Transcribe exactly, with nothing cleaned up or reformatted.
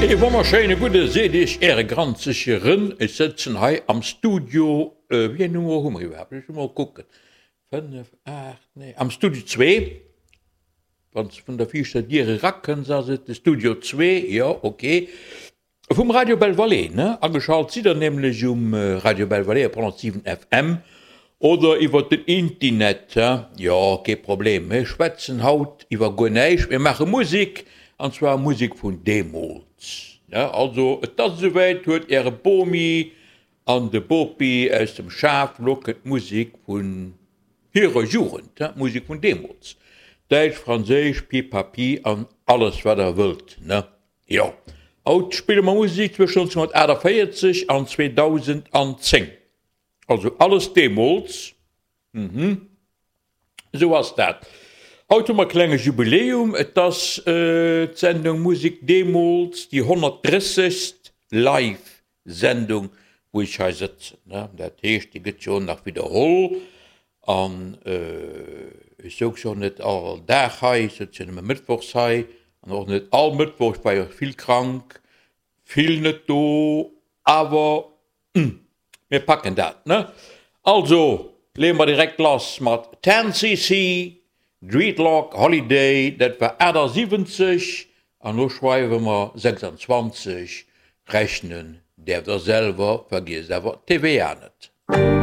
Ee wonnerschéine gudde seet iech äre granzege Rën. Ech sëtzen hei am Studio, wéi eng Nummer hu mer iwwerhaapt? Ech muss mol kucken, fënnef, aacht, nee, am Studio zwee. Wann s de vun der viischter Dier erakënns, ass et de Studio zwee, jo, ok. Vum Radio Belle Vallée, ne? Ageschalt sidd der nämlech um Radio Belle Vallée op honnertsiwen F M oder iwwert den Intinet, he? Jo, kee Problem. Mir schwätzen haut iwwer guer näischt, mir maache Musek, an zwar Musek vun deemools, ne? Also, et ass esouwäit, huelt äre Bomi an de Bopi aus dem Schaf, lo kënnt d'Musek vun hirer Jugend, he? D'Musek vun deemools. Däitsch, Franséisch, Pipapi an alles wat der wëllt, ne? Jo, haut spille mer Musek zwëschen nonzénghunnertaachtavéierzeg an zweedausendzéng. Also alles deemools. Mhm, esou ass dat. Haut hu mer e klenge Jubiläum, et ass d'Sendung Musek deemools, déi honnertdrëssegst Live-Sendung, wou ech hei sëtzen. Dat heescht, déi gëtt jo och nach widderholl. An ech souz jo och net all Dag hei, ech souz jo nëmme mëttwochs hei an och net all Mëttwoch, ech war jo vill krank, vill net do, awer mir packen dat, ne? Also leeë mer direkt lass mat Ten C C, Dreadlock Holiday, dat war achtasiwwenzeg an lo schreiwe mer sechsanzwanzeg, rechnen däerft der selwer, vergiesst awer d'T V A net.